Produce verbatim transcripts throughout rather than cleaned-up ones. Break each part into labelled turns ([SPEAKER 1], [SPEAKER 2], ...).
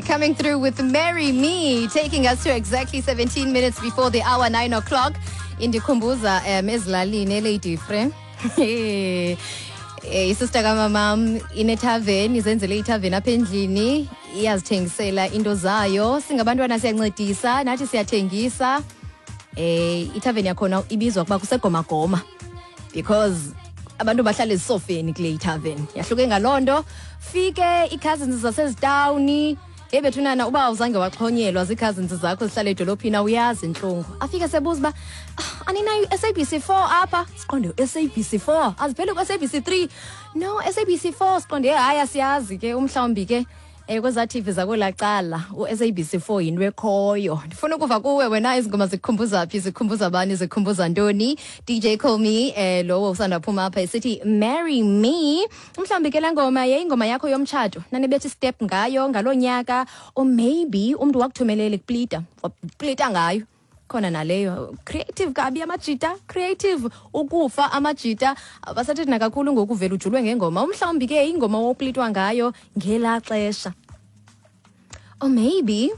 [SPEAKER 1] Coming through with "Marry Me", taking us to exactly seventeen minutes before the hour, nine o'clock. Indikhumbuza um ezilalini eLady Frere. Eh, isister kamamam inethaveni, izenzele ithaveni apha endlini, iyazithengisela into zayo. Singabantwana siyancedisa nathi, siyathengisa. Eh ithaveni yakhona ibizwa kuba kusegomagoma because abantu bahlala ezisofeni kule ithaveni. Yahluke ngaloo nto. Fike ii-cousins zasezitawuni. Hey bethunana, uba awuzange waxhonyelwa zii-cousins zakho zihlala edolophini, awuyazi intlungu. Afike sebuza uba, "Ah, aninayo i-S A B C four apha?" Siqonde U S A B C four azipheli ku-S A B C three. No, S A B C four. Siqonde hayi, asiyazi ke. Umhlawumbi ke um kwezaa T V zakwelaa cala u-S A B C four yinto ekhoyo. Ndifuna ukuva kuwe wena, ezi ngoma zikukhumbuza phi, zikhumbuza bani, zikhumbuza ntoni? D J Call Me, eh lowo usanda phuma apha esithi "Marry Me". Mhlawumbi ke laa ngoma yayingoma yakho yomtshato, nanibetha istep ngayo ngaloo nyaka, or maybe umntu wakuthumelela ikuplita, waplita ngayo khona naleyo. Creative kabi amajita, creative ukufa amajita. Abasathethi nakakhulu ngoku, uvela ujulwe ngengoma. Umhlawumbi ke ingoma woplitwa ngayo ngelaa xesha, or maybe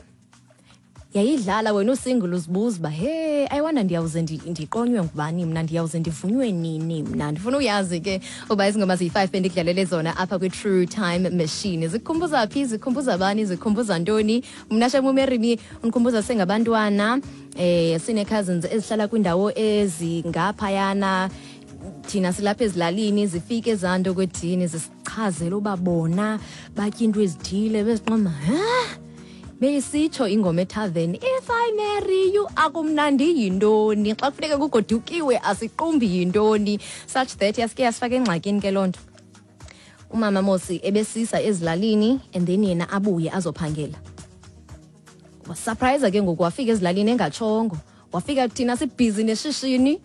[SPEAKER 1] yayidlala wena usingle, uzibuza uba, "Hey, I wonder ndiyawuze ndi- ndiqonywe ngubani mna, ndiyawuze ndivunywe nini mna?" Ndifuna uyazi ke uba ezi ngoma ziyi-five bendikudlalele zona apha kwi-True Time Machine zikhumbuza phi, zikhumbuza bani, zikhumbuza ntoni. Mna shem, uMarry Me undikhumbuza sengabantwana, eh sine-cousins ezihlala kwiindawo ezingaphayana, thina silapha ezilalini. Zifike ezaa nto kwedini, zisichazele uba bona batya into ezithile, beziqoma ha beyisitsho ingoma ethaveni, "If I marry you, akumnandi yintoni, xa kufuneka kugodukiwe asiqumbi yintoni?" Such that yasike yasifaka engxakini ke loo nto. Umama mosi ebesisa ezilalini and then yena abuye azophangela. Wasurprise ke ngoku, wafika ezilalini engatshongo. Wafika thina sibhizi neshishini,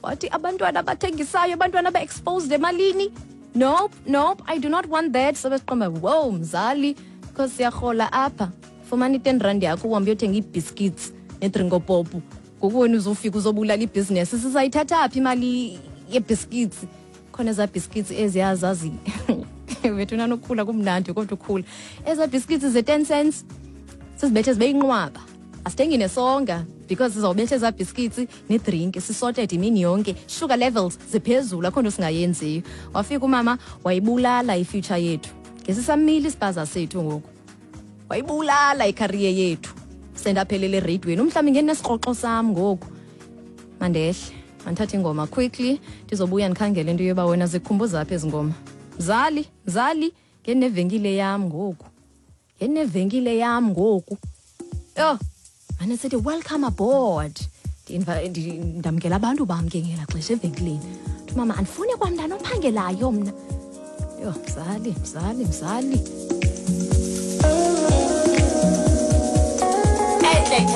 [SPEAKER 1] wathi abantwana abathengisayo, abantwana aba-exposed emalini, nope, nope, I do not want that. Sobe siqomba, wow mzali, because siyarhola apha, fumana i-ten rand yakho uhambe uyothenga ii-biscuits nedrinko pop. Ngoku wena uzofika uzobulala ibhizinesi, sizayithatha phi imali yee-biscuits? Khona ezaa biscuits eziya zazi bethuna nokukhula kumnandi, kodwa ukhula ezaa biscuits ze-ten cents sizibethe zibe yinqwaba. Asithengi nesonga because sizawubetha ezaa biscuits nedrink, sisorted imini yonke, sugar levels ziphezulu, akho nto singayenziyo. Wafika umama wayibulala ifuture yethu, ngesisamile isipaza sethu ngoku, wayibulala icareer yethu, sendaphelela ereyidweni. Umhlawumbi ngenesikroxo sam ngoku. Mandehle, mandithathe ingoma quickly, ndizobuya ndikhangele into yoba wena zikukhumbuza phi ezi ngoma. Mzali, mzali, ngenevenkile yam ngoku, ngenevenkile yam ngoku. Yho, mane sithi welcome aboard. Ndinva- ndi- ndamkela abantu bam ke ngelaa xesha evenkileni. Uthi mama, "Andifuni kwamntana ophangelayo mna." Yho, mzali, mzali, mzali.